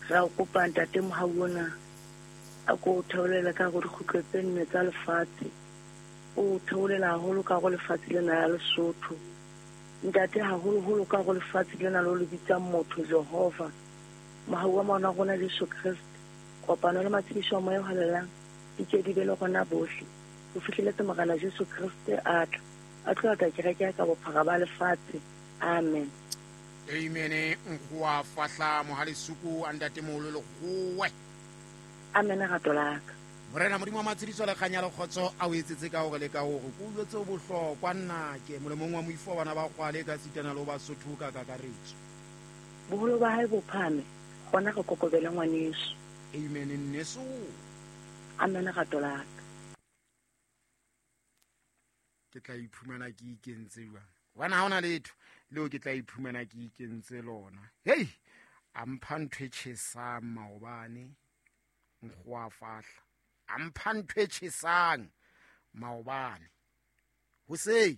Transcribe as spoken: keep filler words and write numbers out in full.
Re a kopa ntate mohau ona a ko o theolele ka go dikgutlo tse nne tsa lefatshe. O theolela haholo ka go lefatshe lena la Lesotho. Ntate haholoholo ka go lefatshe lena lo le bitsang motho Jehova. Mohau wa mona rona Jesu Kriste. Kopano le matshediso a moya o halalelang di ke di be le rona bohle. Ho fihleletse Morena Jesu Kriste a tla. A tlo ata kereke ya ka bophara ba lefatshe. Amen. Amen. Nkgoa fahla mohalesuku a ntatemoholo Lekgowe. Amen rato la ka. Morena Modimo wa matshediso le kganya le kgotso a o etsetse ka hore le ka hore ko utlwetse bohlokwa nnake molemong wa moifo wa bana ba kgwale ka sitana le ho Basotho ka kakaretso. Boholo ba hae bo phahame, gona re kokobele ngwaneso. Amen nneso. Amen rato la ka. Ke tla iphumana ke ikentse jwang? Hobane ha hona letho leo ke tla iphumana ke ikentse lona. Hei, a mpha ntho e tjhesang maobane, nkgoa fahla. A mpha ntho e tjhesang maobane. Hoseng